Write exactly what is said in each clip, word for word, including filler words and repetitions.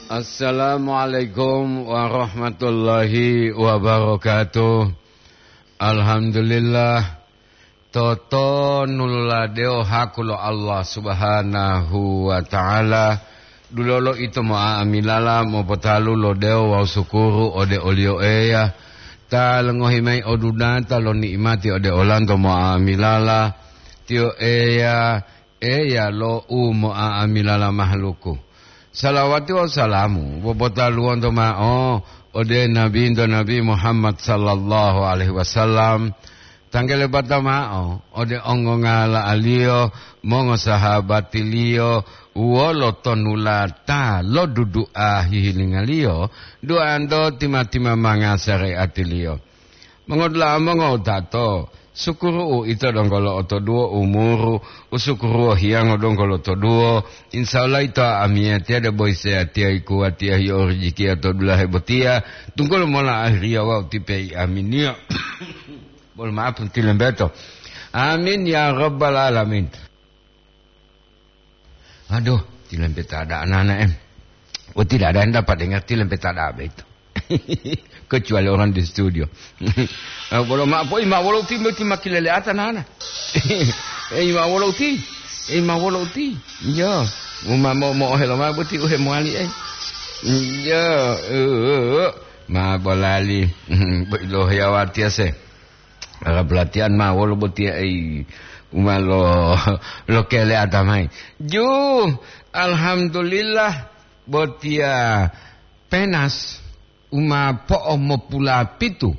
Assalamualaikum warahmatullahi wabarakatuh. Alhamdulillah, totonuloladewo haku lo Allah Subhanahu wa Ta'ala. Dulolo ito mo'a'amilala mopotalu lo dewo wawu sukuru ode oliyo Eya, ta longohi mayi odunata lo ni'imati ode olanto mo'a'amilala. Tiyo Eya, Eya lo u mo'a'amilala mahaluku. Salawati wawu salamu popotaluwonto ma'o ode Nabinto Nabi Muhammad sallallahu alaihi wasallam. Tanggalebata ma'o ode ongongala'aliyo, mongosahabatiliyo, wolo tonulata lo dudu'a hihilinga-Liyo, duanto tima-timamanga sare'ati-Liyo. Mongodula'a mongowutato, sukuru uito donggo lo'otoduwo umuru, usukuruwo hiyango donggo lotoduwo. Insya Allah ito amiyatiya debo iseyatiya ikuwatiya hiyo rijikiya to dulahe botiya, tunggulo mola ahiriya wawu tipei aminiyo. Bolo maaf tilembeto. Amin ya rabbal alamin. Aduh, tilempeta ada anak-anak, em. Oh, tidak ada yang dapat dengar tilempeta ada apa itu. Kecuali orang di studio. Eh, bolo ma po ima wolo uti, boti makilele ata nana. Eh, ima wolo uti. Eh, ima wolo uti. Iya. Uma mo, mo ohelo ma boti uhe moali, eh. Iya, eh, eh, eh. Ma bolali. Bo ilohe awatiya se. Ala pelatihan ma wolo botiya, ei, uma lo, lo kele ata mayi. Ju, alhamdulillah, botiya penas uma po'o mopulapitu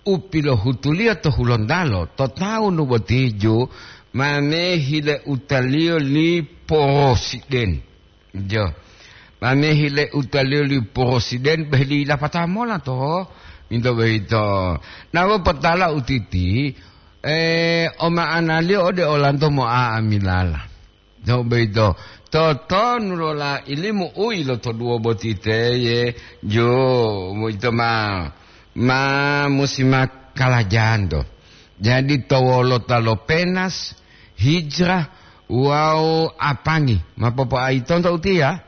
u pilohutuliyo to Hulontalo to tawunu boti ju, mame hile utaliyo li porosiden. Jo. Mame hile utaliyo li porosiden beh li lapata mola to. Minto boyito. Nawo potala utiti, eh, o ma'analiyo ode olanto mo'a'amilala. Jo boyito. Totonu lola ilimu u ilotoduwo boti teye, jo, boyito ma, ma musi ma kalajanto. Jadi to wolota lo penas, hijrah, wawu apangi. Ma popoaitonto utiya?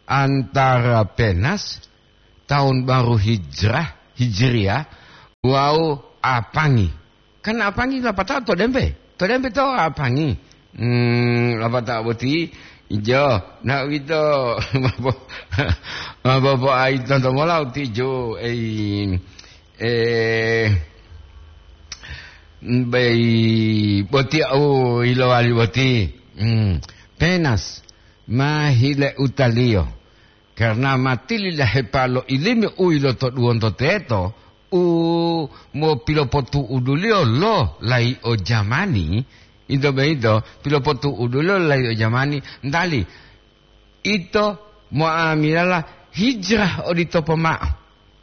Antara penas, tahun baru hijrah, hijriyah, wawu apangi. Kan apangi lapatao to dembe. To dembe to apangi. Hmm, lapatao boti, ijo. Na uwito, ma popoaitonto mola uti jo, ei, eh, bei boti au ilowali boti. Hmm, penas, ma hile utaliyo. Karna ma tilidahepa lo ilimi u ilotoduwonto teto, u mopilopotu'uduliyo lo layi'o jamani, ito boyito pilopotu'uduliyo lo layi'o jamani, ntali ito mo'amilala hijrah odito pomao.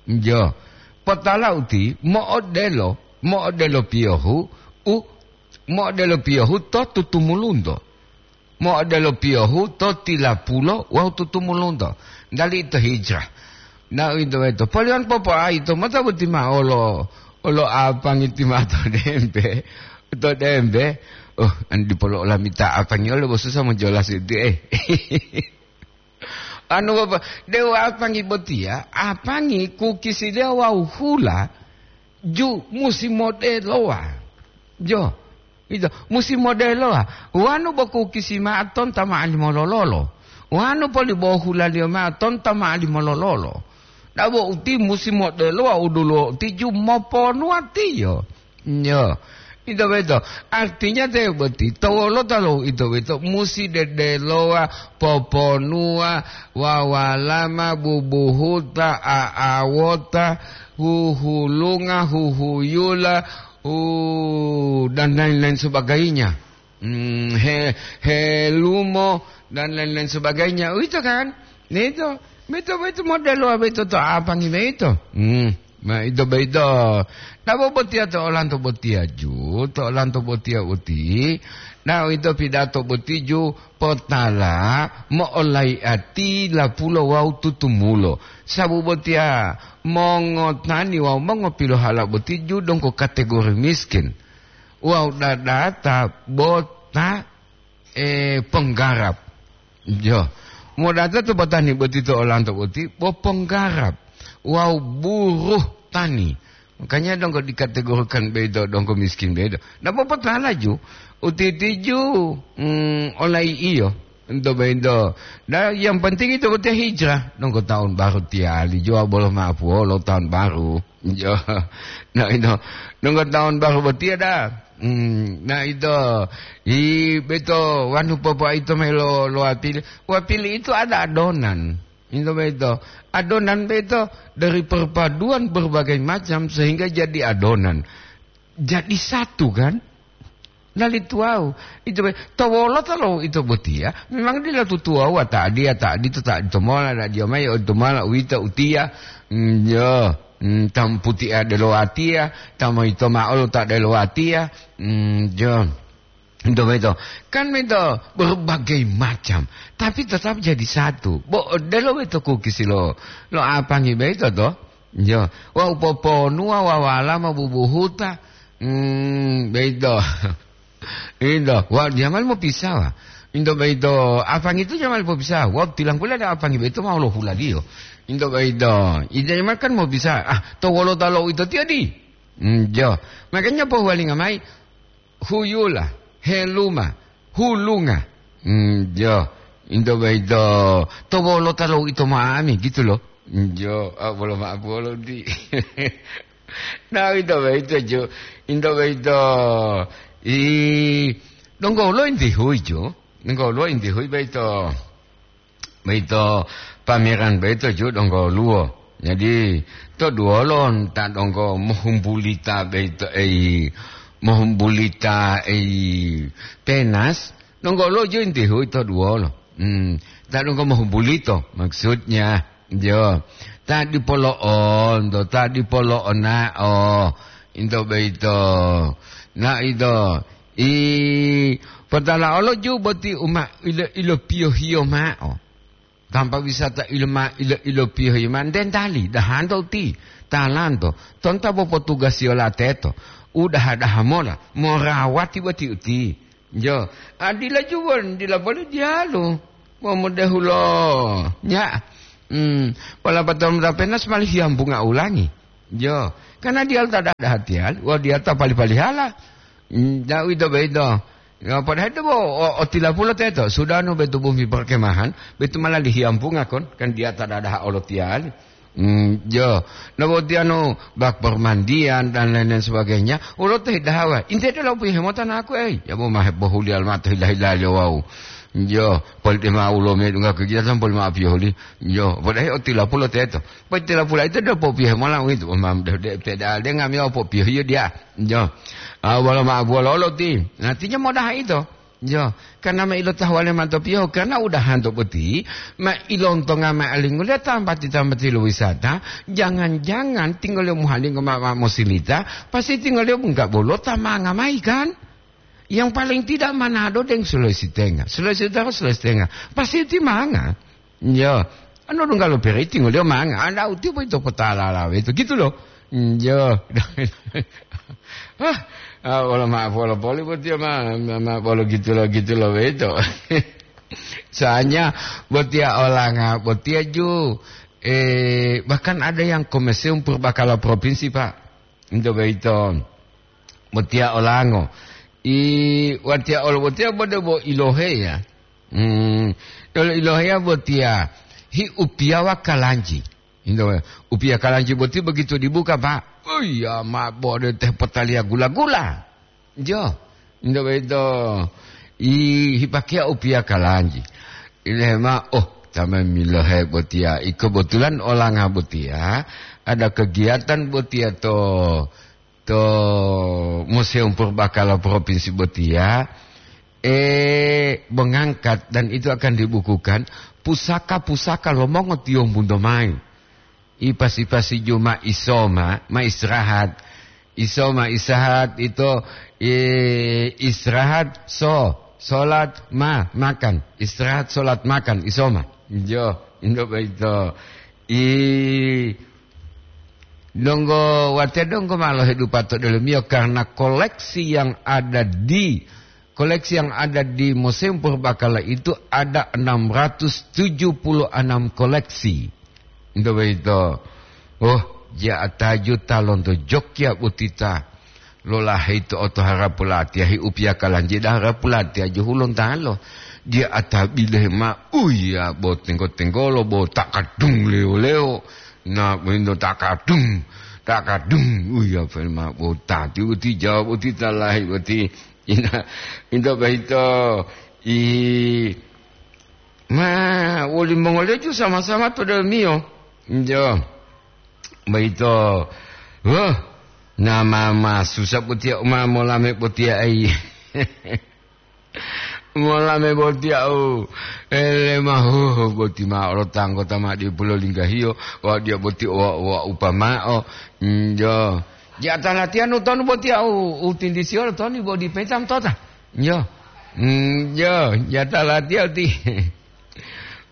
Jo, potala uti mo'odelo, mo'odelo piyohu, u mo'odelo piyohu to tutumulunto. Mo'odelo piyohu to tilapulo wawu tutumulunto, dali ito hijrah. Na uwito boyito, poliyan popoaito mota boti ma'o olo, olo apangi ti ma'o to dembe, to dembe. Oh, an dipolo olamita apangi olo bo susah mojolas itu, eh. Anu, Bapak, dewa apangi botiya, apangi kukisiliyo wawu hula ju musi modelowa. Jo, ito, musi modelowa. Wanu bo kukisi ma'o tonta ma'o limolololo. Wanu poli bo hulaliyo ma'o tonta ma'o limolololo. Dabo uti musi modelowa u duluwo uti ju moponuwatiyo. Yo, ito boyito. Artinya te boti, to wolota lo ito boyito musi dedelowa, poponuwa, wawalama, bubuhuta, a'awota, huhulunga, huhuyula, u-, dan lain-lain sebagainya. Hmm, he-, helumo, dan lain-lain sebagainya. Uwito kan? Ito, boyito, boyito modelo boyito to apangi boyito. Hmm, ma ito boyito. Nabo botiya to olanto botiya ju, to olanto botiya uti. Na uwito pidato boti ju potala mo'olayi'ati lapulo wawu tutumulo. Sabu botiya mongotani wawu mongopilohala boti ju donggo kategori miskin. Wawu dadata bota, eh, penggarap. Jo. Modata to batani boti to olanto boti, bo ponggarap wawu buruh tani. Makanya donggo dikategorikan beito donggo miskin beito. Ndak popotala ju, utitiju, mm, olai iyo. Ento beito. Nah, yang penting itu boti hijrah. Donggo tahun baru tiali jua bolo maapuolo tahun baru. Jo. Nah, ino. Donggo tahun baru boti ada. Hmm, nah, itu. I beito wanu popo itu melo lo apili. Wapili itu ada adonan. Itu beito. Adonan beito dari perpaduan berbagai macam sehingga jadi adonan. Jadi satu, kan? Lali tuwau. Itu be-, to wolota lo ito botiya, memang dila tutuwau, ta adiya, ta adito, ta adito mola, ta adiya mayi, odito mola, uwito, utiya. Mm, yo. Mm, ta moputiya delo watiya, ta moyito ma'o lo ta delo watiya. Mm, yo. Ito boyito. Kan mento berbagai macam, tapi tetap jadi satu. Bo odelo boyito kukisi lo, lo apangi boyito to? Yo. Wa upoponuwa wawala ma bubuhuta. Hmm, boyito. Ito, wa jamal mopisawa. Ito boyito, apangi itu jamal mopisawa. Wa tilanggula ada apangi boyito ma lo hulaliyo. Ito boyito. Ito jamal kan mopisawa. Ah, to wolota lo ito tiyo di. Hmm, yo. Makanya pohuwalinga mayi, huyula, heluma, hulunga. Hmm, jo, ito boyito, to wolota lo ito ma'ami, gitu lo. Hmm, jo, ah, bolo ma'o bolo di. Nah, ito boyito, jo. Ito boyito, i, donggo lo inti hui, jo. Donggo lo inti hui boyito. Boyito pameran boyito ju donggo woluwo. Jadi, to duwolo ta donggo mohumbulita boyito, ei, mohumbulita, ei, penas, donggo woluwo ju inti hui to duwolo. Hmm, ta donggo mohumbulito, maksudnya, jo. Ta dipolo'onto, ta dipolo'ona'o, into boyito. Na ito, I, potala olo ju boti uma ilo, ilopiyohiyo ma'o. Tanpa wisata iloma ilo, ilopiyohiyo ma'o, dentali, dahanto uti, talanto, tonta bo potugasiyo lateto, udaha-daha mola, morawati boti uti. Jo, adila ju won, dila boli diyalu, momudehulo, nya, hmm, wala batol mutapenas mali hiyambunga ulangi. Jo, karena diyalu ta dada hatiyali, wa diyalu ta pali-palihala. Mm, da uwito boyito. Ya, padahal ito bo, o, otilapulo teto, sudah no betu bumi perkemahan, betu malah dihiyampunga kon, kan diya ta dadaha olotiyali. Mm, jo, no botiya no bak permandian dan lain-lain sebagainya, ulo teh dahawa. Inte de lo piye hemota naku, ei, ya bo mahe bohuliya mato hila-hilaliyo wau. Jo, poli de ma ulo medungga kegiatan poli ma piyohuli. Jo, padahal otilapulo teto. Poli tilapula ito de popiyohe mola uwito, mam de, de, de, de, de ngamiyo popiyohiyo diya. Jo. Ah, wolo ma, wolo lo ti. Artinya modaha ito. Jo. Karena ma ilo tahuwale manto piyohu, karena udahanto boti, ma ilontonga ma alinguliyo tambati-tambati lo wisata, jangan-jangan tinggoliyo muhalingo ma, ma mosilita, pasti tinggoliyo bungka bolo ta manga mayi kan? Yang paling tidak Manado deng Sulawesi Tengah. Sulawesi Utara, Sulawesi Tengah. Pasti ti manga. Yo, anu dungga lo periti ngoliyo manga, anda uti boyito potalala weto, gitu loh. Yo. Ah, ah, wolo maaf, wolo poli botiya ma, ma, ma, wolo gitu lo, gitu lo weto. Soalnya botiya olanga, botiya ju, eh, bahkan ada yang ke Museum Purbakala Provinsi, Pak. Into boyito. Botiya olango. I, watiya olo botiya bode bo iloheya. Hmm, olo iloheya botiya hi upiyawa kalanji. Into, upiya kalanji boti begitu dibuka, Pak. Oh iya, ma bode teh potaliya gula-gula. Jo, into boyito. I, hipakeya upiya kalanji. Ilehema, oh, tame milohe botiya. I kebetulan olanga botiya, ada kegiatan botiya to to Museum Purbakala Provinsi botiya, eh, mengangkat dan itu akan dibukukan pusaka-pusaka lo mongotiyombunto mayi. Ipasi-pasi juma isoma, ma istirahat. Isoma istirahat ito, eh, istirahat so, solat ma, makan. Istirahat, solat, makan, isoma. Jo, indo boyito. I, donggo, watiya donggo ma lohedupa to delomiyo karena koleksi yang ada di Koleksi yang ada di Museum Purbakala itu ada enam ratus tujuh puluh enam koleksi. Itu begitu. Oh, ja ataju talonto Jogja botita. Lolahe itu oto harapu latiya hi upiyaka lanjida harapu latiya juhu lontalo. Dia atabile ma, uya, bo tenggo-tenggolo, bo takadung leo-leo. Na, bo indo takadung, takadung. Uya, felma bo tati uti jawab uti talahi uti. Ina, indo bahito. I, ma, woli mongole ju sama-sama to dalmiyo. Injo. Bahito. Wah, nama ma susah botiya uma molame botiya ai. Molame botiya u. Ele ma, huh, boti ma olo tanggo tama di pulo linggahiyo. Wa dia boti wa, wa upamao. Injo. Jata latihan utonu botiya u, utindisiyo toni bo di petam tota. Yo. Hmm, yo, jata latiya uti.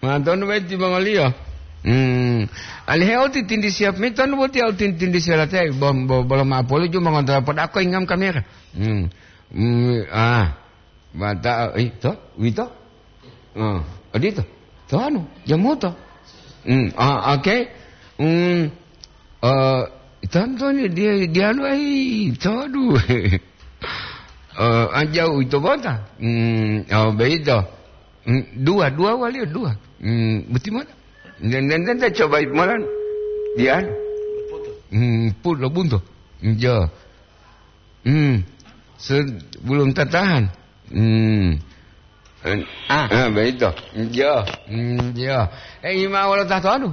Mantonu beti bangoliyo. Hmm. Alihe uti tindi siap mi tonu botiya uti tindi siap latiya. Bom, bo-, bolo ma polo ju mangontra podako ingam kamera. Hmm. Hmm, ah. Mata, eh, to, wito? Oh, odito. To anu, jamuto. Hmm, ah, oke. Hmm. Eh, tantoni dia, dia anu, eh, to, aduh. Eh, anjau ito bota. Hmm, oh, beito. Hmm, dua, dua wali, dua. Hmm, boti mota. Dan, dan, dan, dan coba molan. Dia. Hmm, put lo bunto. Hmm, jo. Hmm. Se-, belum tertahan. Hmm. Ah, ah, beito. Jo. Hmm, jo. Eh, ima wala tahto anu.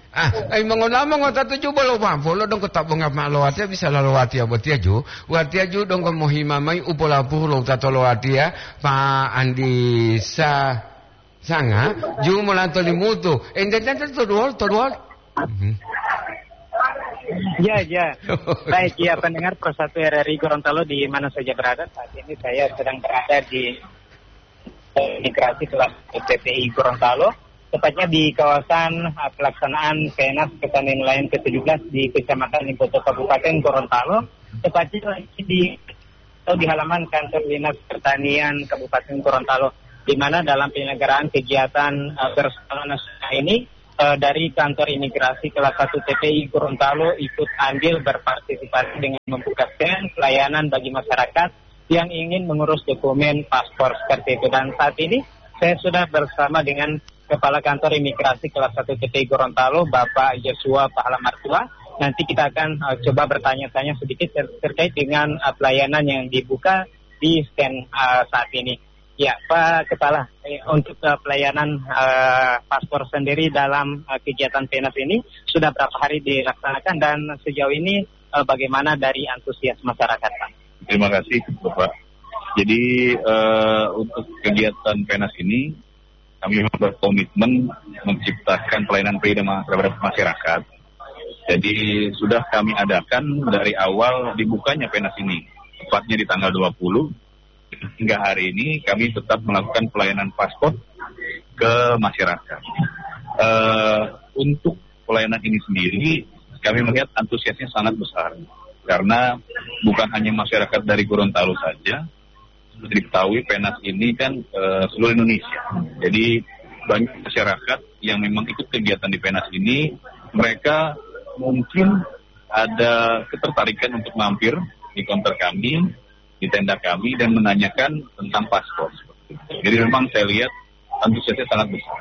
Ah, ai mongonamo ngota tuju bolo pampolo dongko tabonga ma lo watiya bisa lalo watiya botiya ju. Watiya ju dongko mohima mai u polapuru lo tato lo watiya, Pa Andi Sa-, Sanga, ju molanto limutu. Ente tente to duwol, to duwol. Mhm. Ya, ya. Baik, ya, pendengar Pro satu R R I Gorontalo di mana saja berada, saat ini saya sedang berada di Migrasi kelas T P I Gorontalo, tepatnya di kawasan, eh, pelaksanaan Penas Petani Nelayan ke tujuh belas di Kecamatan Limpoto, Kabupaten Gorontalo, tepatnya di, atau di halaman kantor Dinas Pertanian Kabupaten Gorontalo, di mana dalam penyelenggaraan kegiatan, eh, berskala nasional ini, eh, dari kantor imigrasi kelas satu T P I Gorontalo ikut andil berpartisipasi dengan membuka stand pelayanan bagi masyarakat yang ingin mengurus dokumen paspor seperti itu. Dan saat ini saya sudah bersama dengan Kepala Kantor Imigrasi Kelas satu T P I Gorontalo, Bapak Joshua Pahala Martua. Nanti kita akan, eh, coba bertanya-tanya sedikit ter-, terkait dengan, eh, pelayanan yang dibuka di stand, eh, saat ini. Ya, Pak Kepala, eh, untuk, eh, pelayanan, eh, paspor sendiri dalam, eh, kegiatan Penas ini sudah berapa hari dilaksanakan dan sejauh ini, eh, bagaimana dari antusias masyarakat, Pak? Terima kasih, Bapak. Jadi, eh, untuk kegiatan Penas ini, kami memang berkomitmen menciptakan pelayanan free dan ma-, terhadap masyarakat. Jadi, sudah kami adakan dari awal dibukanya Penas ini, tepatnya di tanggal dua puluh, hingga hari ini kami tetap melakukan pelayanan paspor ke masyarakat. Eh, untuk pelayanan ini sendiri, kami melihat antusiasnya sangat besar. Karena bukan hanya masyarakat dari Gorontalo saja, seperti diketahui, Penas ini kan, eh, seluruh Indonesia. Jadi, banyak masyarakat yang memang ikut kegiatan di Penas ini, mereka mungkin ada ketertarikan untuk mampir di konter kami, di tenda kami, dan menanyakan tentang paspor. Jadi, memang saya lihat antusiasnya sangat besar.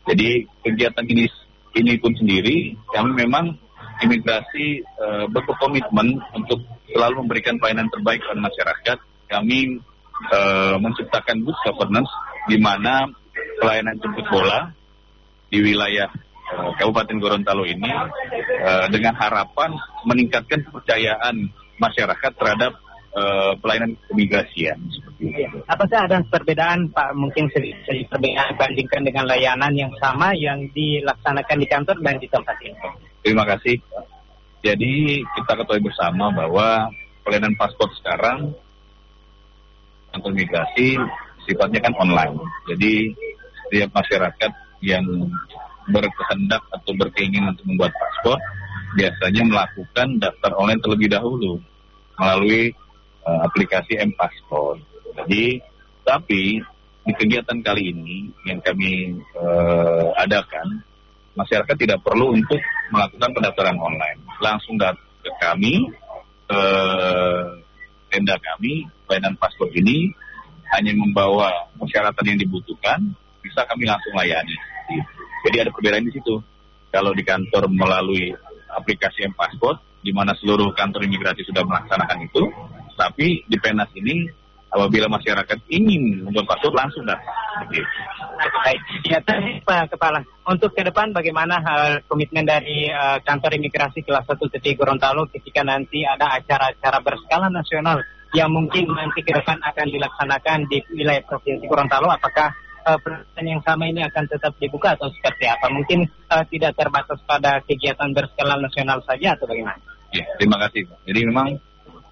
Jadi, kegiatan ini, ini pun sendiri, kami memang imigrasi, eh, berkomitmen untuk selalu memberikan pelayanan terbaik kepada masyarakat. Kami, eh, menciptakan good governance, di mana pelayanan jemput bola di wilayah, eh, Kabupaten Gorontalo ini, eh, dengan harapan meningkatkan kepercayaan masyarakat terhadap, eh, pelayanan keimigrasian. Seperti itu. Apakah ada perbedaan, Pak? Mungkin sedikit perbedaan dibandingkan dengan layanan yang sama yang dilaksanakan di kantor dan di tempat ini. Terima kasih. Jadi, kita ketahui bersama bahwa pelayanan paspor sekarang, kantor migrasi, sifatnya kan online. Jadi, setiap masyarakat yang berkehendak atau berkeinginan untuk membuat paspor, biasanya melakukan daftar online terlebih dahulu melalui, eh, aplikasi M-Paspor. Jadi, tapi di kegiatan kali ini yang kami, eh, adakan, masyarakat tidak perlu untuk melakukan pendaftaran online. Langsung datang ke kami, ke tenda kami, pelayanan paspor ini hanya membawa persyaratan yang dibutuhkan, bisa kami langsung layani. Jadi ada perbedaan di situ. Kalau di kantor melalui aplikasi M-Passport, di mana seluruh kantor imigrasi sudah melaksanakan itu, tapi di Penas ini, apabila masyarakat ingin membuat paspor, langsung datang. Seperti itu. Baik, ya, tadi, Pak Kepala, untuk ke depan bagaimana, eh, komitmen dari, eh, kantor imigrasi kelas satu T T I Gorontalo ketika nanti ada acara-acara berskala nasional yang mungkin nanti ke depan akan dilaksanakan di wilayah Provinsi Gorontalo? Apakah, eh, peraturan yang sama ini akan tetap dibuka atau seperti apa? Mungkin, eh, tidak terbatas pada kegiatan berskala nasional saja atau bagaimana? Ya, terima kasih, Pak. Jadi memang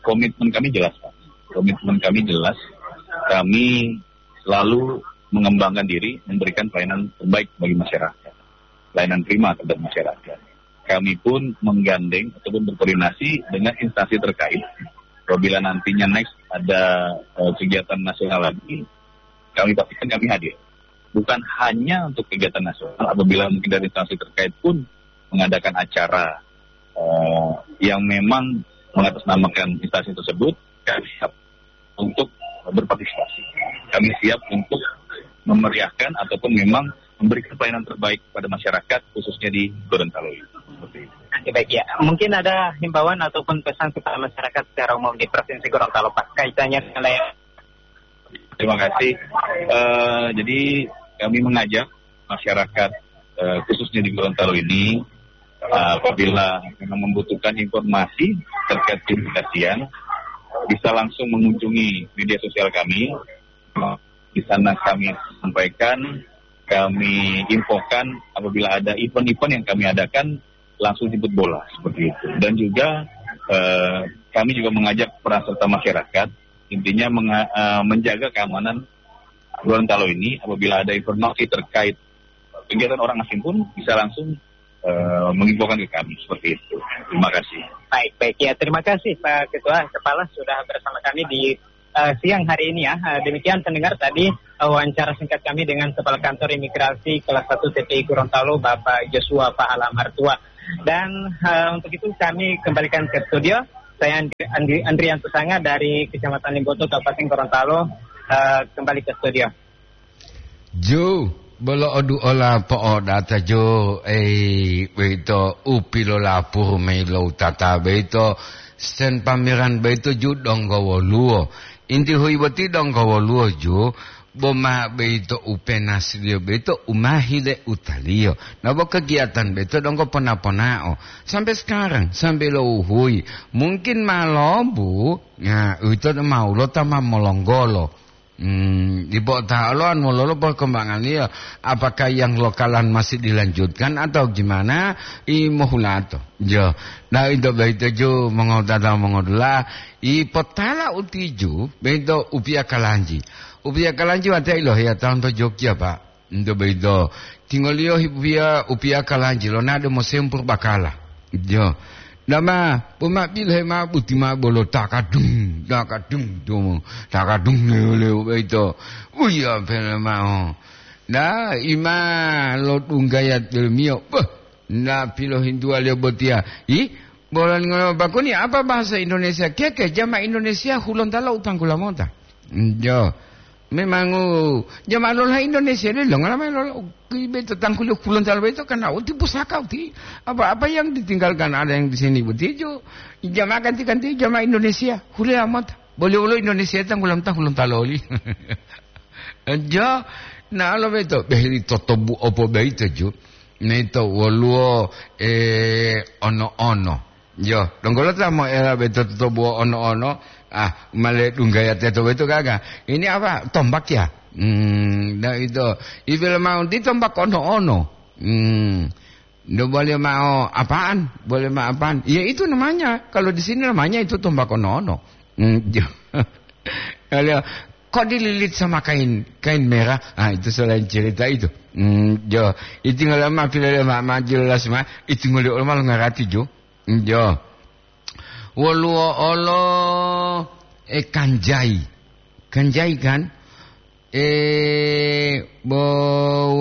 komitmen kami jelas, Pak. Komitmen kami jelas. Kami selalu mengembangkan diri, memberikan pelayanan terbaik bagi masyarakat. Pelayanan prima terhadap masyarakat. Kami pun menggandeng ataupun berkoordinasi dengan instansi terkait. Apabila nantinya next ada, eh, kegiatan nasional lagi, kami pastikan kami hadir. Bukan hanya untuk kegiatan nasional, apabila mungkin dari instansi terkait pun mengadakan acara, eh, yang memang mengatasnamakan instansi tersebut, kami siap untuk berpartisipasi. Kami siap untuk memeriahkan ataupun memang memberikan pelayanan terbaik kepada masyarakat, khususnya di Gorontalo ini. Seperti itu. Oke, baik, ya. Mungkin ada himbauan ataupun pesan kepada masyarakat secara umum di Provinsi Gorontalo, Pak, kaitannya dengan layanan. Terima kasih. Eh, jadi kami mengajak masyarakat, eh, khususnya di Gorontalo ini, eh, apabila memang membutuhkan informasi terkait keimigrasian, bisa langsung mengunjungi media sosial kami. Di sana kami sampaikan, kami infokan apabila ada event-event yang kami adakan, langsung jemput bola seperti itu. Dan juga, eh, kami juga mengajak peran serta masyarakat, intinya menga-, eh, menjaga keamanan Gorontalo ini apabila ada informasi terkait kegiatan orang asing pun bisa langsung, eh, menginfokan ke kami seperti itu. Terima kasih. Baik, baik. Ya, terima kasih, Pak Ketua Kepala, sudah bersama kami di, eh, siang hari ini, ya. Eh, demikian pendengar tadi, eh, wawancara singkat kami dengan Kepala Kantor Imigrasi Kelas satu T P I Gorontalo, Bapak Joshua Pahala Martua. Dan, eh, untuk itu kami kembalikan ke studio. Saya Andri-, Andri-, Andrian Susanga dari Kecamatan Limboto, Kabupaten Gorontalo, eh, kembali ke studio. Ju, bolo oduola po'odata ju, ei, boyito u pilolapuru mayi lo utata boyito, sen pameran boyito ju donggo woluwo. Inti huyi boti donggo woluwo ju, bo ma boyito u penasliyo boyito u ma hile utaliyo. Na bo kegiatan boyito donggo pona-ponao. Sampai sekarang, sampai lo uhuyi. Mungkin ma lobu, na, uwito ma ulota ma molonggolo. Hmm, dipo ta olo anu lolo perkembangannya, apakah yang lokalan masih dilanjutkan atau gimana? I mohulato. Jo. Nah, itu baik ju mongotata mongodula. I potala utiju, bento upia kalanji. Upia kalanji wate ilo ya tahun to Jogja, Pak. Ento boyito, tingoliyo hipiya upiya kalanji lonado mosempur bakala. Jo. Dama, poma pilohe ma buti ma bolo takadung, takadung, tumu, takadung lewu-lewu boyito. Uya pele mao. Na, ima lo dunggaya tulumiyo. Beh, na pilohintuwaliyo botiya. Ih, bolon ngono bakuni apa bahasa Indonesia? Keke, jama Indonesia hulontalo utanggula mota. Jo. Memang, oh, jamaah lola Indonesia ini longola mayi lola, ki beto tangkuli kulon talo beto karena uti pusaka uti. Apa-apa yang ditinggalkan ada yang di sini betul jo. Jamaah ganti-ganti jamaah Indonesia. Hule amat. Boleh-boleh Indonesia tanggulam tanggulam taloli. Jo, na lo beto. Beh, totobu opo beito jo. Neto woluwo, eh, ono-ono. Yo, donggo lo ta moela beto totobuwo ono-ono, ah, male dunggaya teto beto gaga. Ini apa? Tombak ya? Hmm, nah itu. Ibil mau di tombak ono-ono. Hmm. Ndak boleh mau apaan? Boleh mau apaan? Ya itu namanya. Kalau di sini namanya itu tombak ono-ono. Hmm, yo. Kalau kok dililit sama kain, kain merah? Ah, itu selain cerita itu. Hmm, yo. Itu ngalama pilih ma, ma jelas ma. Itu ngolih ulama ngarati jo. Jo. Woluwo olo, e, kanjai. Kanjai kan? Eh, bo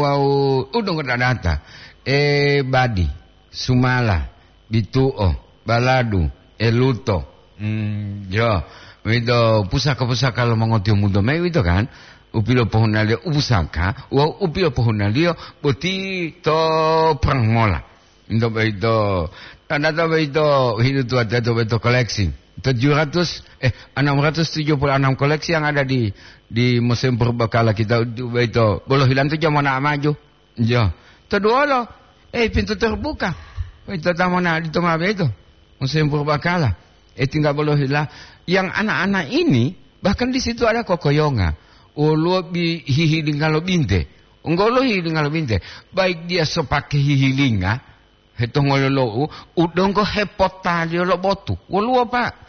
wau udong dadata. Eh, badi, sumala, bitu'o, baladu, eluto. Hmm, yo, wito pusaka-pusaka lo mongotiyombunto mayi wito kan? Upilopohunaliyo upusaka, wawu upilopohunaliyo boti to perang mola. Into boyito, tanda to boyito, hidup tua to boyito koleksi. Tujuh ratus, eh, enam ratus tujuh puluh enam koleksi yang ada di, di Museum Purbakala kita boyito. Bolo hilang tu jamana maju. Iya. Toduolo, eh, pintu terbuka. Boyito tamona di toma boyito. Museum Purbakala. Eh, tinggal bolo hila. Yang anak-anak ini, bahkan di situ ada kokoyonga. Woluwo bi-, hihilinga lo binte. Woluwo hihilinga lo binte. Baik dia so pakai hihilinga, Hetongololou, u donggo hepotaliyo lo botu. Woluwo, Pak.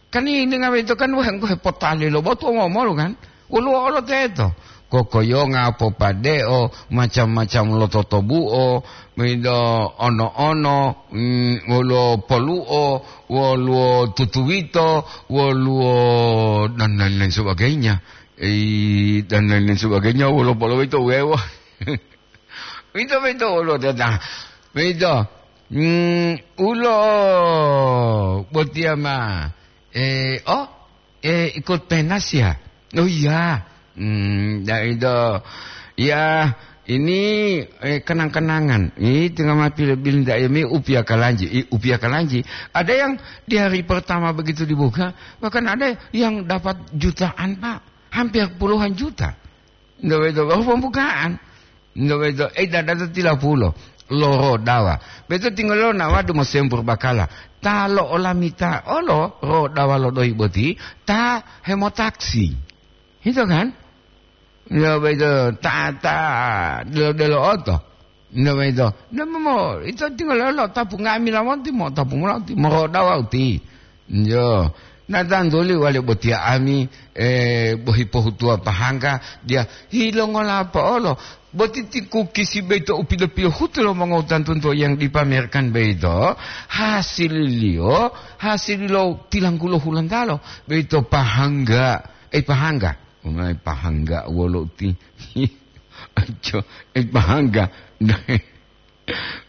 Kan ini ngawe itu kan wah, enggo hepotaliyo lo botu, ngomolu kan? Woluwo olo teto. Kokoyonga, popadeo, macam-macam lo totobuo, mido ono-ono, mm, woluwo poluo, woluwo tutuwito, woluwo dan lain-lain sebagainya. Eh, dan lain-lain sebagainya, woluwo poluwo itu wewo. Wito, wito, ulo tata. Wito. Hmm, ulo botiya ma. Eh, oh, eh, ikut penas ya? Oh iya. Hmm, ya itu. Ya, ini, eh, kenang-kenangan. Ini tengah mati lebih tidak ya, mi upia kalanji. I, upia kalanji. Ada yang di hari pertama begitu dibuka, bahkan ada yang dapat jutaan, Pak. Hampir puluhan juta. Nto boyito wawu pembukaan. Nto boyito, eh, dada to tilapulo, lo rodawa. Boyito tingololo nawadu mosempur bakala. Ta lo'olamita olo rodawa lo doyi boti, ta hemotaksi. Hito kan? Nto boyito, ta, ta, delo-delo oto. Nto boyito, nto mo, ito tingololo tapu nga'amila monti mo, tapu molati, morodawa uti. Njo, na tantuli wale botiya ami, eh, bohi pohutuwa pahangga, diya hilongola po'olo. Boti ti kukisi boyito u pilo-pilohutu lo mongowutantunto yang dipamerkan boyito, hasililiyo, hasililo tilanggulo hulantalo, boyito pahangga, eh, pahangga. Umai pahangga wolo uti. Aco, eh, pahangga.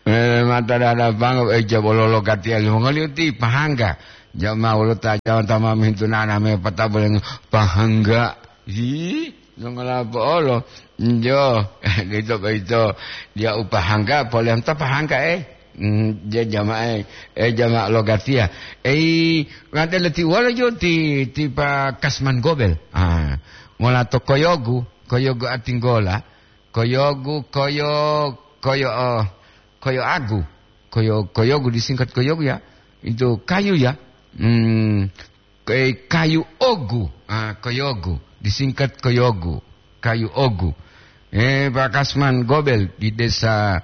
Eh, mata dada pango, eh, jabolo lo katiya limongoliyo ti pahangga. Jama wolo ta, jama tama mintu nana me pata boleh pahangga. Hi, nongola po'olo. Njo, ito, ito. Dia upahangga, poleh ta pahangga, eh. Hmm, dia jama, eh, eh, jama lo katiya. Eh, ngadele ti wolo jo ti, ti pa Kasman Gobel. Ah, mola to Koyogu, Koyogu Atinggola. Koyogu, koyo, koyo, oh, koyo agu. Koyo, koyogu disingkat koyogu ya. Itu kayu ya. Hmm, ke-, kayu ogu. Ah, koyogu. Disingkat koyogu. Kayu ogu. Eh, Pak Kasman Gobel di desa,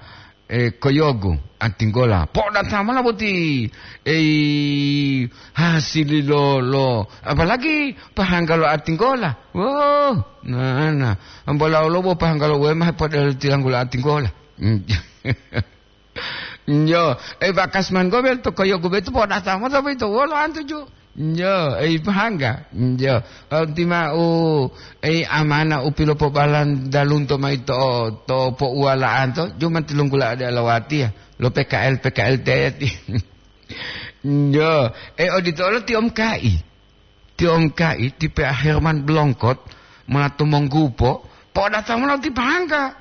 eh, Koyogu, Atinggola. Po'o datang mana boti? Eh, hasil lo, lo. Apalagi pahangga lo Atinggola. Wah, nah, nah. Ambola olobo pahangga lo wema podelo tilanggulo Atinggola. Hmm. Njo, eh, Pak Kasman Gobel to Koyogu betu po'o datang mana boyito wolo antuju. Njo, eh, pahangga. Njo, eh, tima'u, eh, amana u pilopobalan dalunto mayi to, to pouwala'anto, juma tilunggula ade alawatiya, lo P K L, P K L teti. Njo, eh, odito olo ti omkai. Ti omkai, ti P A Herman Blongkot, mola to Monggupo, po'o datang mola ti pahangga.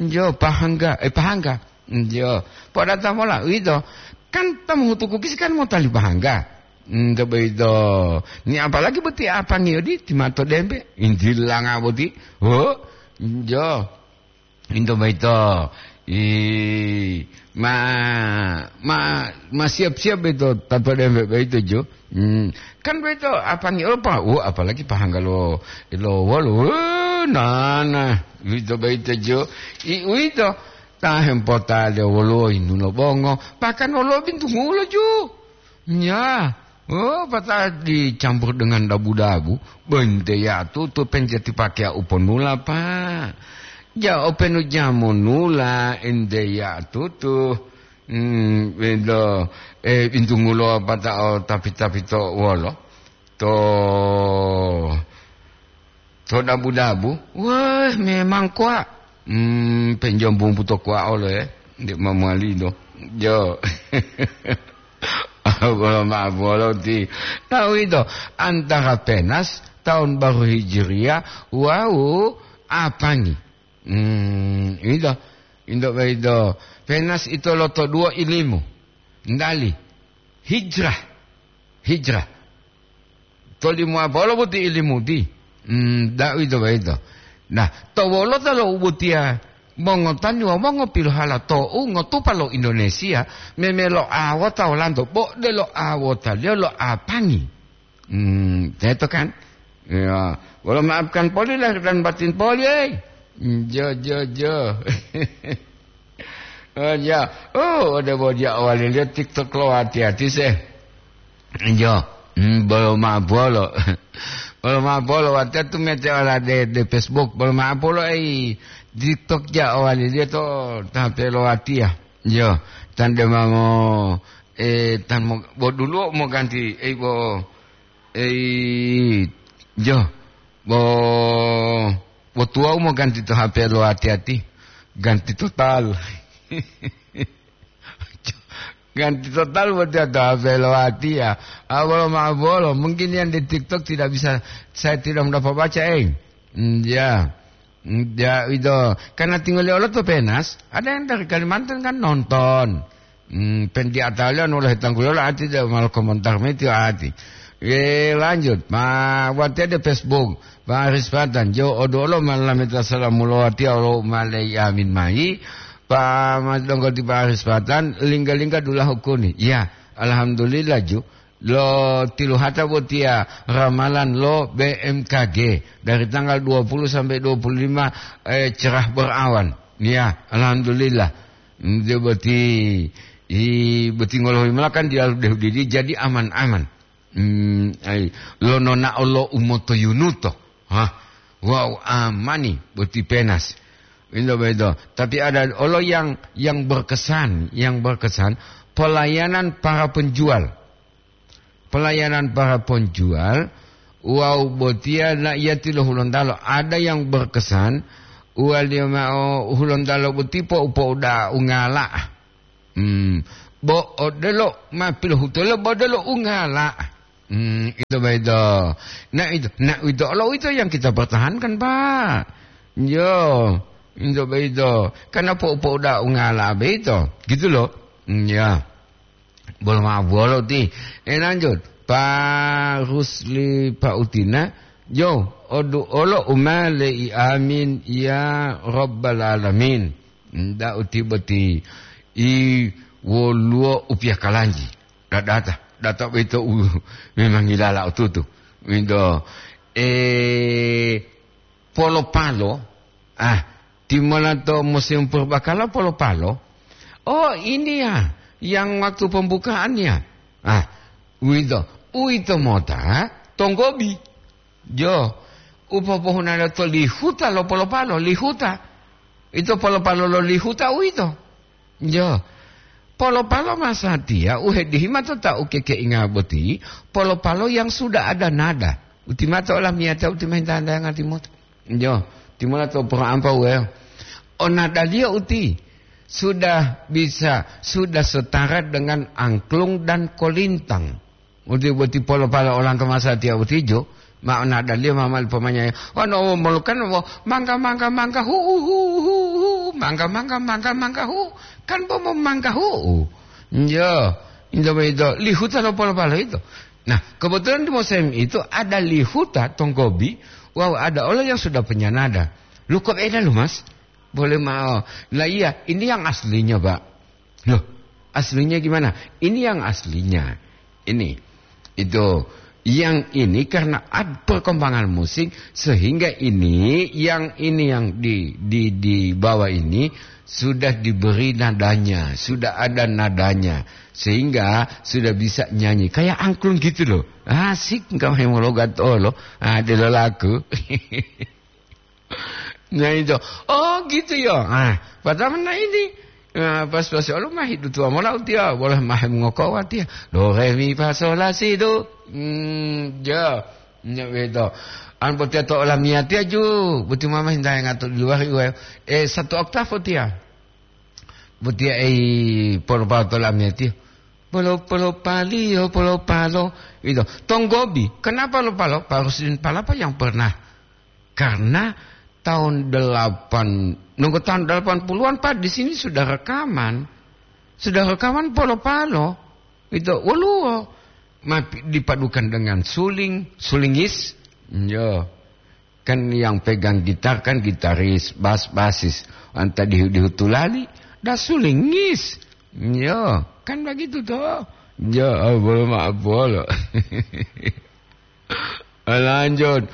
Njo, pahangga, eh, pahangga. Njo, po'o datang mola, uwito. Kan ta mohutu kukisi kan motali pahangga. Njo, boyito. Ni apalagi boti apangi odi, ti mato dembe, injilanga boti. Ho, njo. Into boyito, i, ma, ma, ma siap-siap boyito, tanpa dembe boyito, jo. Hmm. Kan boyito, apangi olo pa, wo, apalagi pahangga lo, lo wolo, wo, nana, uwito boyito, jo. I, uwito, ta hempota de wolo inu lo bongo, bahkan wolo bintungulo, jo. Ya, oh, pata'o dicampur dengan dabu-dabu, bente ya tutu penjati pakeya uponula, Pak. Ja openu jamonula, ente ya tutu. Hmm, bento, eh, bintungulo pata'o tapi-tapi to wolo. To To dabu-dabu, wah, memang kuwa. Hmm, penjom bumbu to kuwa olo, eh. Nde mamalido. Jo. Bolo ma'o bolo ti. Tahu itu, antara penas, tahun baru Hijriah, wau apangi. Hmm, itu. Indo itu. Penas itu loto dua ilimu. Ndali. Hijrah. Hijrah. Tolimo apa olo boti ilimuti? Hmm, da'u ito boyito. Nah, to wolota lo ubotiya mongotani wawu mongopilohala to'u ngotupa lo Indonesia, memelo awota olanto, bo delo awotaliyo lo apangi. Hmm, teto kan? Ya, wolo maafkan poli lahir dan batin poli, eh. Jo, jo, jo. Oh, ya. Oh, ode bodia owaliliyo TikTok lo hati-hati se. Jo, hmm, bolo ma'o bolo. Bolo ma'o bolo, watiya tu mete ola de, de Facebook. Bolo ma'o bolo, ei, TikTok ja owaliliyo to tape lo watiya. Jo, tan de mango, eh, tan mo, bo duluwo mo ganti, ei, bo, ei, jo, bo, bo tuwawu mo ganti to H P lo hati-hati. Ganti total. Ganti total buat dia to H P lo hati ya. Ah, bolo ma'o bolo. Mungkin yang di TikTok tidak bisa, saya tidak mendapat baca, eh. Hmm, ya. Hmm, ya, itu. Karena tinggal di Allah tuh penas. Ada yang dari Kalimantan kan nonton. Hmm, pen di atalian oleh tangguyola ati dia malah komentar meti ati. Eh, lanjut. Ma, buat dia di Facebook. Pak Aris Patan, jo odo olo malameta salamulo ati olo malei amin mai. Pa madonggo ti Pak Aris Patan, lingga-lingga dulahu kuni. Ya, alhamdulillah ju. Lo tiluhata botiya ramalan lo B M K G dari tanggal dua puluh sampai dua puluh lima, eh, cerah berawan. Ya, alhamdulillah. Dia boti, i, boti ngolohi melakan dia deh didi jadi aman-aman. Hmm, ai, lononao lo umotoyunuto. Hah? Wau amani boti penas. Indo bedo. Tapi ada olo yang, yang berkesan, yang berkesan pelayanan para penjual. Pelayanan para penjual, wau botiya na iya tilo Hulontalo. Ada yang berkesan, uwaliyo ma'o Hulontalo boti po upo uda ungala. Hmm. Bo odelo ma pilohutulo bo odelo ungala. Hmm, itu begitu. Nah, itu, nah, itu, kalau itu yang kita pertahankan, Pak. Yo, itu begitu. Karena po-, po udah ungala begitu. Gitu loh. Hmm, ya. Bolo ma'o bolo ti. Eh, lanjut. Pak Rusli Pak Utina. Yo, odu olo umale i amin ya rabbal alamin. Nda uti boti i woluwo upiya kalanji. Da-, data, data boyito u memang ngilala otutu. Windo, eh, polo-palo, ah, timola to musim purbakala polo-palo. Oh, ini ya, yang waktu pembukaan ya. Ah, uwito, uwito mota tonggobi. Jo, upopohunalo to lihuta lo polo-palo, lihuta. Ito polo-palo lo lihuta uwito. Jo, polo-palo masatiya u hedihima to ta ukekeinga boti, polo-palo yang sudah ada nada. Utimato olamiyata utimahinta-hintayanga timoto. Jo, timola to poro ampa uweyo. O nadaliyo uti sudah bisa, sudah setara dengan angklung dan kolintang. Uti boti polo-palo olanto masatiya utijo, ma o nadaliyo ma mali pomanyaya. Wano molukan wo mangga, mangga, mangga, hu, hu, hu, hu, hu, mangga, mangga, mangga, mangga, hu. Kan bo mo mangga hu. Jo, indo, indo, lihuta lo polo-palo itu. Nah, kebetulan di musim itu ada lihuta tonggobi, wawu ada olo yang sudah punya nada. Lu kok beda lu, Mas? Boleh mau. Lah iya, ini yang aslinya, Pak. Loh, aslinya gimana? Ini yang aslinya. Ini, itu, yang ini karena ad-, perkembangan musik sehingga ini, yang ini yang di, di, di bawah ini sudah diberi nadanya, sudah ada nadanya, sehingga sudah bisa nyanyi. Kayak angklung gitu loh. Asik, engkau hemologat olo. Ah, dia laku. Nah, itu. Oh, gitu ya. Ah, pertama nah ini. Nah, pas-pas olo mah hidup tua mola utia, boleh mah ngoko watia. Do, re, mi, fa, sol, la, si, do. Hmm, ya. Nya beto. An botiya to olamiyatiya ju, boti mama hintahenga to di luwari uwe, e, satu oktav botiya. Botiya ei polo-polo to olamiyatiya. Polo-polo paliyo, polo-palo. Itu. Tonggobi. Kenapa lo palo? Pak Rusdin Palapa yang pernah. Karena tahun delapan, nunggu tahun delapan puluhan, Pak, di sini sudah rekaman. Sudah rekaman polo-palo. Itu. Woluwo. Ma-, dipadukan dengan suling, sulingis. Yo. Kan yang pegang gitar kan gitaris, bas, basis. Anta dihu-dihu tulali, da sulingis. Yo, kan begitu toh. Ya, ah, bolo maaf, bolo. Lanjut.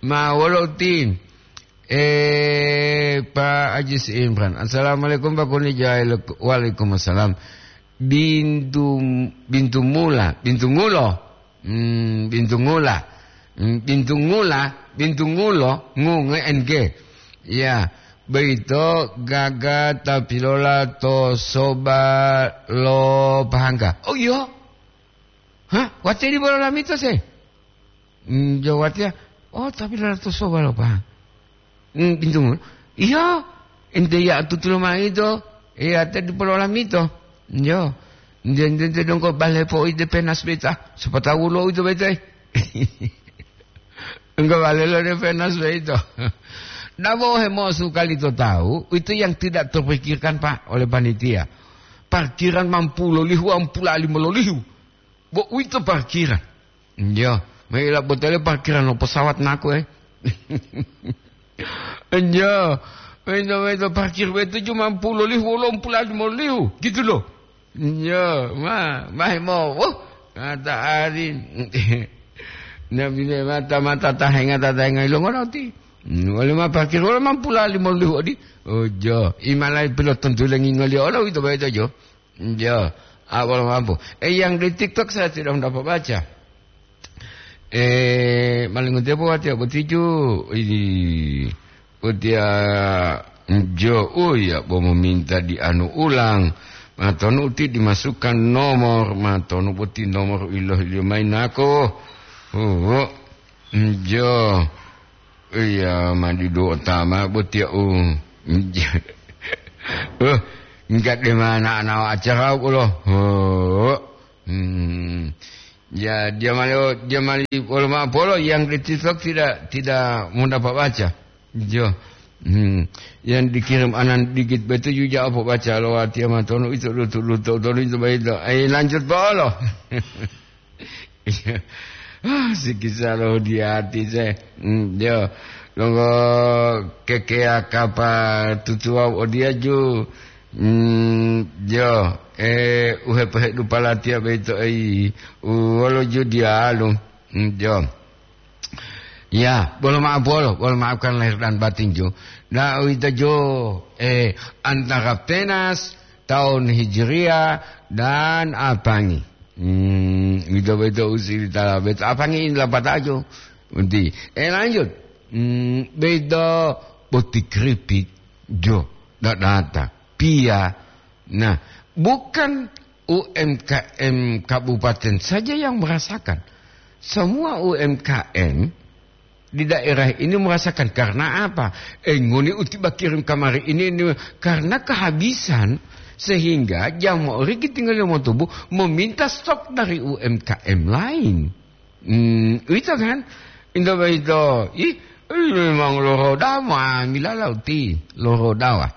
Ma, wolo uti. Eh, Pak Ajis Imran. Assalamualaikum, Pak Kuni Jail. Waalaikumsalam. Bintu, bintu mula, bintu ngulo. Hmm, bintu ngula. Hmm, bintu ngula, bintu ngulo, ngu, nge, N G. Ya, boyito gaga ta pilola to soba lo Pahangga. Oh, iya? Hah? Watiya dipo lolamito se? Hmm, jo watiya. Oh, ta pilola to soba lo Pahangga. Hmm, bintu ngula. Iya, ente ya tutulo maido. Iya, te dipo lolamito. Yo. Nde, nde, nde dongko bale po ide penas beta. Siapa tahu lo itu beta. Enggak bale lo de penas beta. Nabo hemosu kali to tahu, itu yang tidak terpikirkan, Pak, oleh panitia. Parkiran mampu lolihu, ampula lima lolihu. Bo uwito parkiran. Njo, maila botele parkiran lo pesawat naku, eh. Njo, wento, wento parkir wetu cuma puluh lihu, wolo puluh lima lihu, gitu loh. Njo, ma, mahe mo, oh, kata ari. Nabi le mata, mata tahenga, tahenga ilongo roti. Hmm, wale ma parkir, wale ma puluh lima lihu odi. Oh, jo, imalai pilot tentu lengi ngoli olo, itu bae to, jo. Yo, awal mampu. Eh, yang di TikTok saya tidak mendapat baca. Eh, malingu tepo watiya botiju. Ini, watiya, jo, oh ya, bo meminta di anu ulang. Matonu uti dimasukkan nomor, matonu boti nomor iloh ilio main nako. Oh, jo. Iya, mandi duo tama botiya u. Uh, enggak de mana ana acara ulo. Oh. Hmm. Ya, dia malu, dia mali polo ma polo yang di TikTok tidak, tidak mudah Pak baca. Jo. Hmm. Yang dikirim anan digit betu juga apa baca lo ati ama tono itu lutu lutu tono itu baik itu. Ayo lanjut polo. Ah, sikisa lo di ati se. Hmm, yo. Longo kekea kapa tutuwa odiya ju. Hmm, yo. Eh, uhepehe dupala tiya beito ei. Uwolo ju dialu. Hmm, yo. Ya, bolo maaf bolo, bolo maafkan lahir dan batin ju. Nah, uwito ju, eh, antara penas tahun Hijriah dan apangi. Hmm, uwito-uwito usili tala beto. Apangi ini lapataju. Unti. Eh, lanjut. Hmm, beto boti keripik. Jo, dadata. Pia. Nah, bukan U M K M kabupaten saja yang merasakan. Semua U M K M di daerah ini merasakan. Karena apa? Eh, ngoni uti bakirim kamari ini, ini karena kehabisan, sehingga jamaah riki tinggal yang mau tubuh meminta stok dari U M K M lain. Hmm, itu kan? Indo beito. Ih, memang loroda ma milala uti. Loroda wa.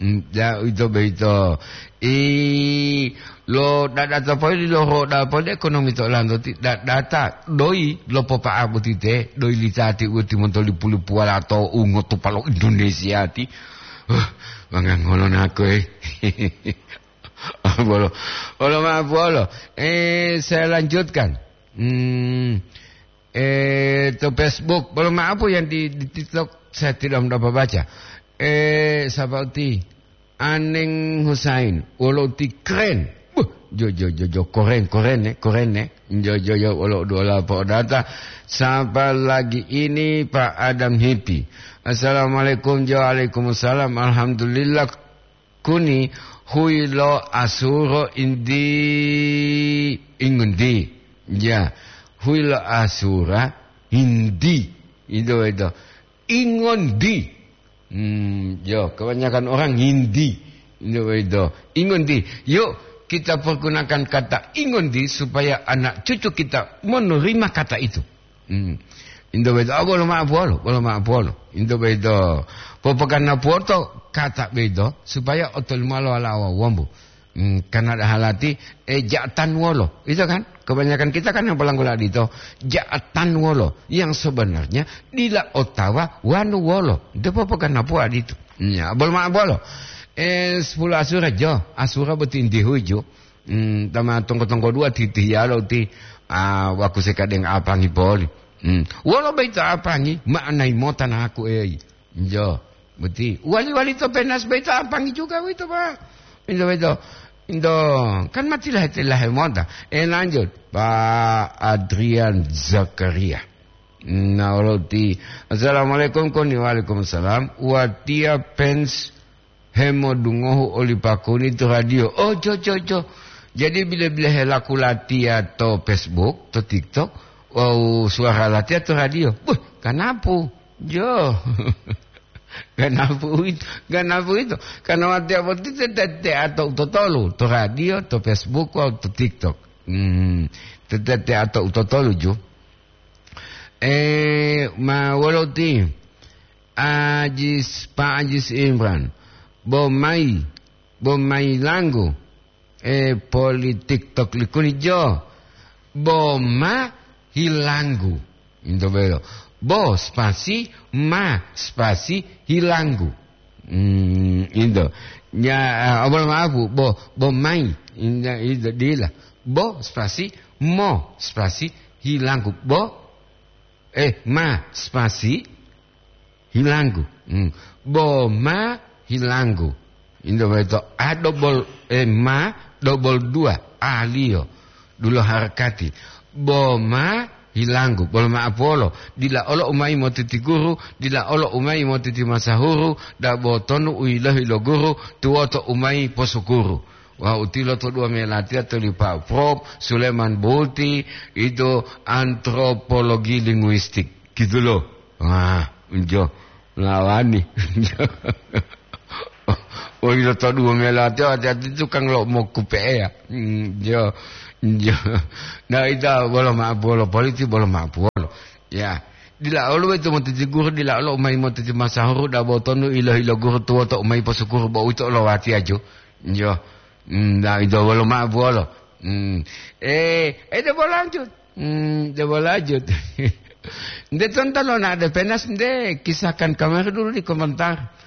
Hmm, ya, ito beito. I lo dadata poli lo roda poli ekonomi to lanto ti dadata doi lo popa abutite doi litati uti montoli pulu puala to ungo to palo Indonesia ti. Huh, mangang ngolo nako, eh. Bolo, bolo ma bolo. Eh, saya lanjutkan. Hmm, eh, to Facebook. Bolo ma apa yang di, di TikTok saya tidak mendapat baca. Eh, siapa uti? Aneng Husain, wolo uti keren. Buh, jo, jo, jo, jo, keren, keren, eh, keren, eh. Jo, jo, jo, wolo dola po data. Sapa lagi ini Pak Adam Hipi. Assalamualaikum, jo, waalaikumsalam. Alhamdulillah, kuni huilo asuro indi ingundi. Ya, huilo asura indi. Itu itu. Ingondi. Hmm, yo, kebanyakan orang ngindi. Itu itu. Ingondi. Yuk, kita pergunakan kata ingondi supaya anak cucu kita menerima kata itu. Hmm. Into boyito, oh, bolo ma'o puwolo, bolo ma'o puwolo. Into boyito, popoganapuwoto kata boyito supaya otolimo lo wala'a wombu. Hmm, karena ada halati, eh, ja'atan wolo. Itu kan? Kebanyakan kita kan yang pelanggola dito, ja'atan wolo. Yang sebenarnya dila otawa wanu wolo. Itu popoganapuwa dito. Ya, bolo ma'o puwolo. Eh, sepuluh asura jo, asura boti inti huju. Hmm, tama tonggo-tonggo dua titihiyalo ti, ah, waku sekadeng apangi poli. Hmm. Wolo boyito apangi, ma'anayi mota naku eyi. Jo, boti. Wali-wali to penas boyito apangi juga boyito, Pak. Into boyito. Into, kan matilahe-tilahe mota. Eh, lanjut. Pak Adrian Zakaria. Nah, wolo ti. Assalamualaikum, koni. Waalaikumsalam. Watiya fans hemodungohu oli pakuni to radio. Oh, jo, jo, jo. Jadi, bile-bile helaku latiya to Facebook, to TikTok, wawu suwara latiya to radio. Buh, ganapu. Jo. Ganapu uwito, ganapu uwito. Karena watiya boti te-, te-, tete'a to utotolu, to radio, to Facebook, wawu to TikTok. Hmm, te-, tete'a to utotolu, ju. Eh, ma wolo ti? Ajis, Pak Ajis Imran. Bo mayi, bo mayi langgu. Eh, politik tok likuni jo. Bo ma hilanggu. Into belo. Bo spasi ma spasi hilanggu. Hmm, into. Ya, eh, abal maafu. Bo, bo mayi. Inda, inda, dila. Bo spasi mo spasi hilanggu. Bo, eh, ma spasi hilanggu. Hmm. Bo ma hilanggu. Into boyito a double, eh, ma double dua, aliyo. Dulo harakati. Bo ma hilanggu. Bolo ma'o puwolo. Dila olo umayi motiti guru, dila olo umayi motiti masahuru, dabo tonu u yilohi lo guru, tuwoto umayi posukuru. Wawu tilo to dua melatiya to lipa Prof Suleman Buti, itu antropologi linguistik. Gitu loh. Wah, unjo. Lawani. Woi, lo to dua mela ati, ati-ati tukang lo mokupe'eya. Hmm, jo, jo. Nah, ita bolo ma'o puwolo politi, bolo ma'o puwolo. Ya. Dila olo wetu motiti guru, dila olo umayi motiti masahuru, dabo tonu ilo-ilo guru tuwoto umayi posukuru bo uwito lo watiya jo. Jo. Hmm, nah, ito bolo ma'o puwolo. Hmm. Eh, eh, debo lanjut. Hmm, debo lanjut. Nde tonton lo na'ade penas nde, kisahkan kamari dulu di komentar.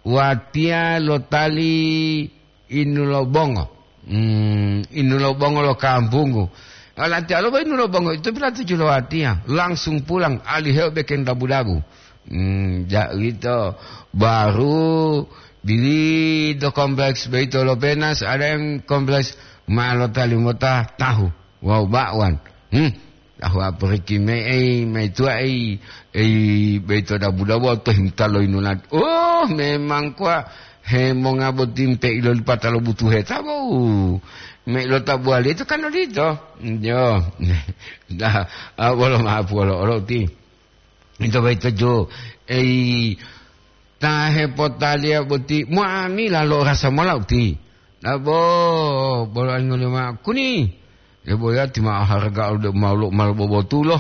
Watiya lotali inu lo bongo. Hmm, inu lo bongo lo kampunggu. Alati alo bo inu lo bongo itu pilatuju lo watiya. Langsung pulang, aliheo bekeng dabu-dabu. Hmm, ja uwito. Baru dili do kompleks boyito lo penas, ada yang kompleks ma lotali mota tahu. Wawu ba'wan. Hmm. Tahu aporiki me ei, maituwa ei, ei, boyito dabu-dabu to himta lo inunat. Oh, memang kuwa hemonga boti mpe ilolipata lo butuhe tabo'u. Me lo tabuwali itu kan odito. Jo. Nah, ah, bolo ma'o puwolo olo ti. Ito boyito jo. Ei, ta hepotaliya boti muamila lo rasa mola uti. Nabo, bolo angolo ma'o kuni. Debo yati ma'o harga ode malu-, malu bobotulo.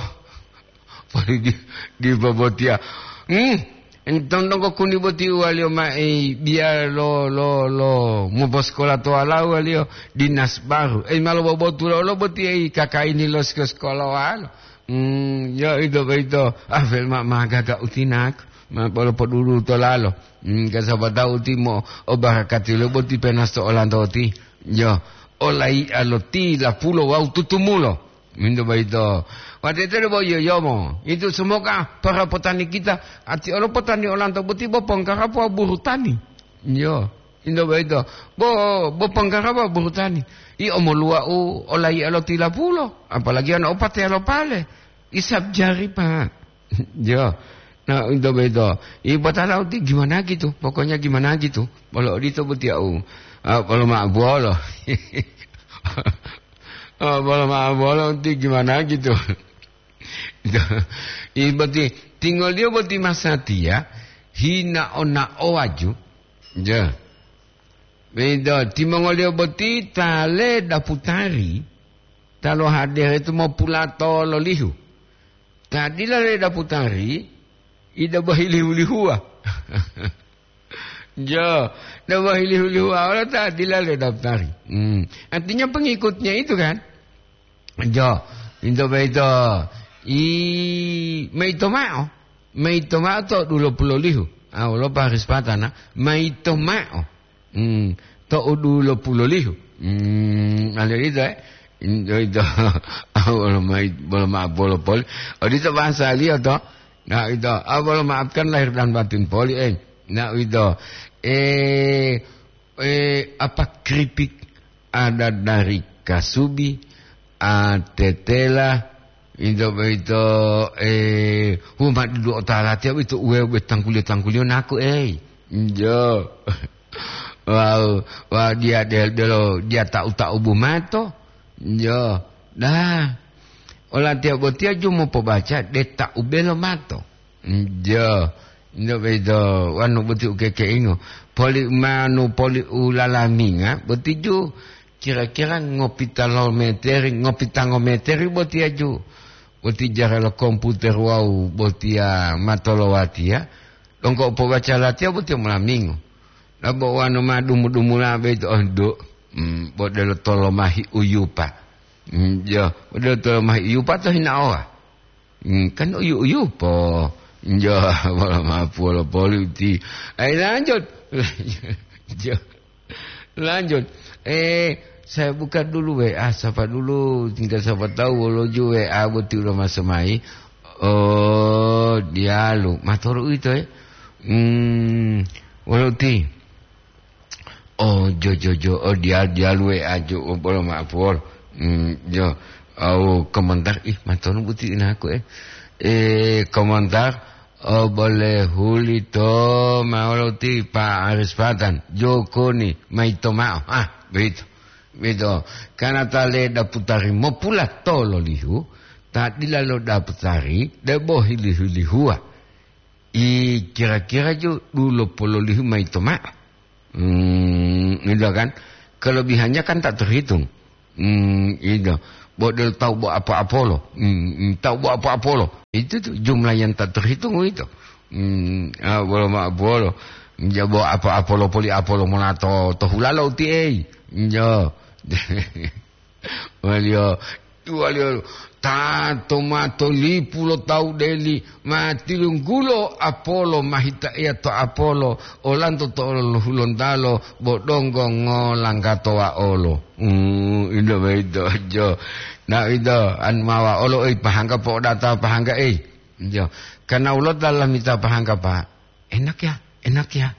Poli di, di bobotiya. Hmm, entong donggo kuni boti uwaliyo ma'i biya lo, lo, lo, moposkola to walawu waliyo dinas baru. Ei, malu bobotulo lo boti ei kaka ini lo siko-, sikola walo. Hmm, yo ito boyito. Ah, fel ma-, magaga utinak. Ma polo podulu to lalo. Hmm, kasaba tawu timo o barakati lo boti penas to olanto ti. Yo, olayi alo ti lapulo wawu tutumulo. Minto boyito. Watete bo yoyomo. Itu semoga para petani kita, ati olo petani olanto boti bo pongkarapo buru tani. Yo. Indo boyito, bo, bo ponggaraba burutani. I omoluwa'u olayi'a lo tilapulo, apalagi ana opateyalo pale. Isab jari, Pak. Jo. Nah, indo boyito, i botalau ti gimana gitu, pokoknya gimana gitu. Bolo odito botiya'u. Ah, bolo ma'o bolo. Ah, bolo ma'o bolo ti gimana gitu. I boti, tingoliyo boti masatiya, hinao-naowaju. Ja. Begitu, timongoliyo boti ta ledaputari, ta lohadere tu mopulato lolihu. Ta dila ledaputari, ida bohilihu-lihuwa. Jo, da bohilihu-lihuwa olo ta dila ledaputari. Hmm. Artinya pengikutnya itu kan? Jo, into boyito, i, maito mao. Maito mao to dulo pulolihu. Ah, wolo Paris patana, maito mao. Hmm, to dulo pulolihu. Hmm, ada itu, eh. Into itu, ah, wolo mai-, bolo ma-, bolo poli. Oh, itu bahasa liya to. Nah, itu, ah, bolo maafkan lahir dan batin poli, eh. Nah, itu. Eh, eh, apa keripik ada dari kasubi, ah, tetela, itu, itu, eh, huma dudu otalatiya itu uwe, uwe tangkuliyo-tangkuliyo naku, eh. Jo. Wau, wau dia del-, delo, dia tau-tau bumato. Jo. Dah. Olatiya botiya ju mopobaca de tau belo mato. Jo. Ino boyito, wanu boti u kekeingo. Poli manu, poli u lalaminga, boti ju kira-kira ngopitalometeri, ngopitangometeri boti aju. Boti jara lo komputer wawu botiya matolowatiya. Donggo pobaca latiya boti molamingo. Labo wanu ma dumu-dumula boyito, oh, do. Hmm, bo delo tolomahi uyupa. Hmm, jo, bo delo tolomahi uyupa to hinaowa. Hmm, kan uyu-uyu po. Jo, wolo mapu wolo poli uti. Ayo lanjut. Jo. Lanjut. Eh, saya buka dulu W A, sapa dulu, tinggal siapa tahu wolo ju W A boti ulo masuk mai. Oh, dialu. Matoru itu, eh. Hmm, wolo uti. Oh, jo, jo, jo. Oh, dia, dia luwe aju, oh, bolo maaf, wol. Hmm, jo. Au komentar, ih, matonu buti inaku, eh. Eh, komentar, oh, boleh huli to, maolo ti Pak Aris Patan. Joko ni, maito mao. Ah, begitu. Begitu. Karena ta le daputari mopula tolo lihu, ta dila lo daputari, debo hili-hilihua. I kira-kira ju dulo pololihu maito ma'o. Hmm, gitu kan. Kelebihannya kan tak terhitung. Hmm, gitu. Bo del tahu bo apa-apolo. Hmm, hmm, tahu bo apa-apolo. Itu tuh jumlah yang tak terhitung itu. Hmm, ah, bolo ma apolo. Ya bo apa-apolo poli apolo monato to hulalo uti ei. Yo. Waliyo, waliyo, tato mato lipu lo tawu deli, ma tilunggulo apolo, ma hitaeya to apolo, olanto to olo lo Hulontalo, bo donggo ngolanggato wa'olo. Hmm, indo boyito, jo. Na ito, an ma wa'olo, ei, pahangga po'odata pahangga, ei. Jo. Karena ulo dalam mita pahangga, Pak. Enak ya, enak ya.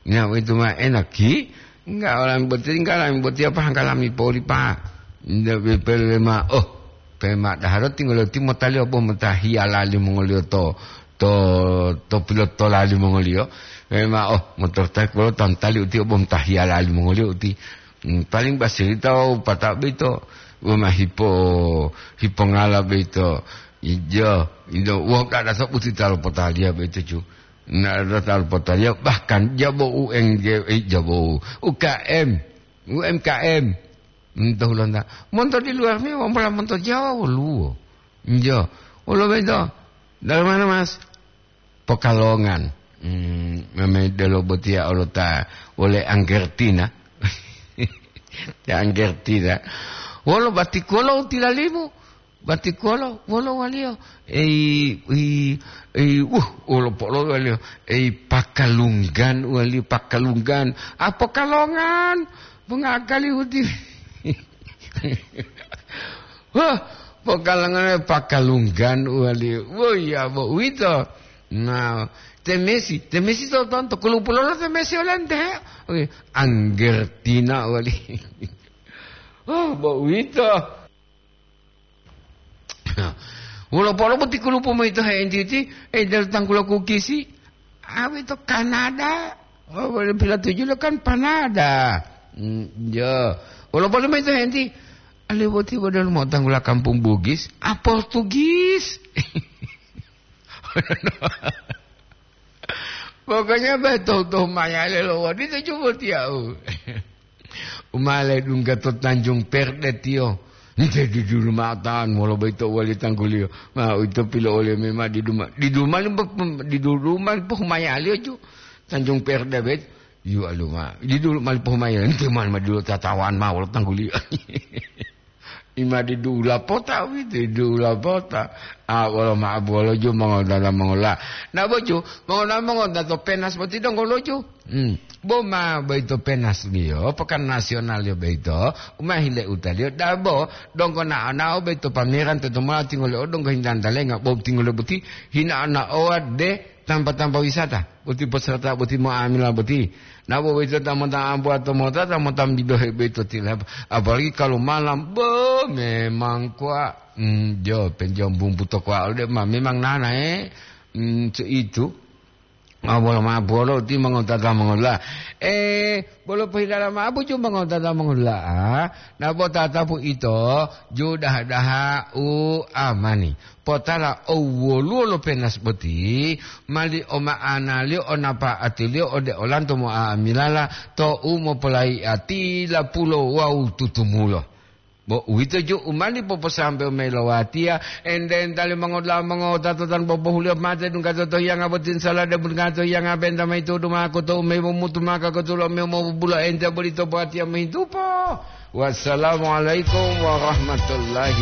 Ya, itu mah enak, ki. Enggak, orang berarti enggak, orang berarti apa, hanggalami poli, Pak. Ndak bepele ma, oh, pema daharo tinggal ti motaliyo bo motahiyalali mongoliyo to, to, to pilotolali mongoliyo. Pema, oh, motor taek bolo tantali uti bo motahiyalali mongoliyo uti. Hmm, paling basirita o pata beito, woma hipo, hipongala beito. Ijo, ijo, wong kada sabuti talo potaliya beito, cu. Na, tatal potaliya, bahkan jabo U N G, eh, jabo U K M, U M K M. Monto Hulanda. Monto di luar mi, wampola monto Jawa woluwo. Njo. Wolo beto. Dari mana, Mas? Pokalongan. Hmm, meme delo botiya olota wole Anggertina. Ya, Anggertina. Wolo batikolo tilalimu. Batikolo, wolo waliyo? Ei, ei, ei, wuh, wolo polo waliyo? Ei, pakalunggan waliyo, pakalunggan. Ah, pokalongan, mengakali uti. Wah, pokalongan, pakalunggan waliyo. Wah, ya, bo, uwito. Nah, temesi, temesi to tonto, kulupulolo temesi olante, he? Oke, Anggertina wali. Oh, bo, uwito. Wolo polo boti kulupu moyito he'entiti, eh, dari tanggulo kukisi, awe to Kanada. Oh, boleh pilatuju lo kan Panada. Hmm, ya. Wolo polo moyito he'enti, ale boti bodol mo tanggula kampung Bugis, ah, Portugis. Pokoknya be tohu-tohu mayale lo wodito cubo tiyau. Umale dungga to Tanjung Perde tiyo. Nte didulu ma'o tan wolo boyito wali tangguliyo. Ma uwito pilo'oliyo mema diduma-, diduma-, diduma pohumayaliyo ju. Tanjung Perde bet. Yu aluma. Didulu mali pohumayaliyo. Nte mali ma dulu tatawan ma wolo tangguliyo. Ima didula pota uwito, didula pota. Ah, wolo ma'o bolo ju mongodada mongola. Na boju, mongola mongoda to penas boti donggo loju. Hmm. Bo ma boyito penas liyo, pekan nasional liyo boyito, uma hile utaliyo, dabo, donggo na'o-na'o boyito pameran tetomala tingole o donggo hintantalenga, bo tingole boti, hina'o-na'owa de tampa-tampa wisata, boti peserta boti mo'amila boti. Na bo boyito ta mota ambuwa to mota, ta mota bidohe boyito tila, apalagi kalau malam, bo memang kuwa, hmm, jo, penjom bumbu to kuwa, ode ma memang nana, eh, hmm, seitu. Ma bolo ma bolo ti mongotata mongola. Eh, bolo pohilala ma buju mongotata mongola. Na bo tatapu ito, ju daha-daha u amani. Potala o woluwo lo penas boti, mali o ma'analiyo, o napa'atiliyo ode olanto mo'amilala to u mopolayi'atila pulo wawu tutumulo. Bo uwito ju u mali poposambewo mayi lo watiya, ente-enta limongotala mongowutato tan bobohuliyo mate dunggato to hiyanga boti, salade dunggato hiyanga benta mayi tudu mako to umeyi momutu maka kotulo mewu mobubula ente bolito bo watiya mohintupo. Wassalamualaikum warahmatullahi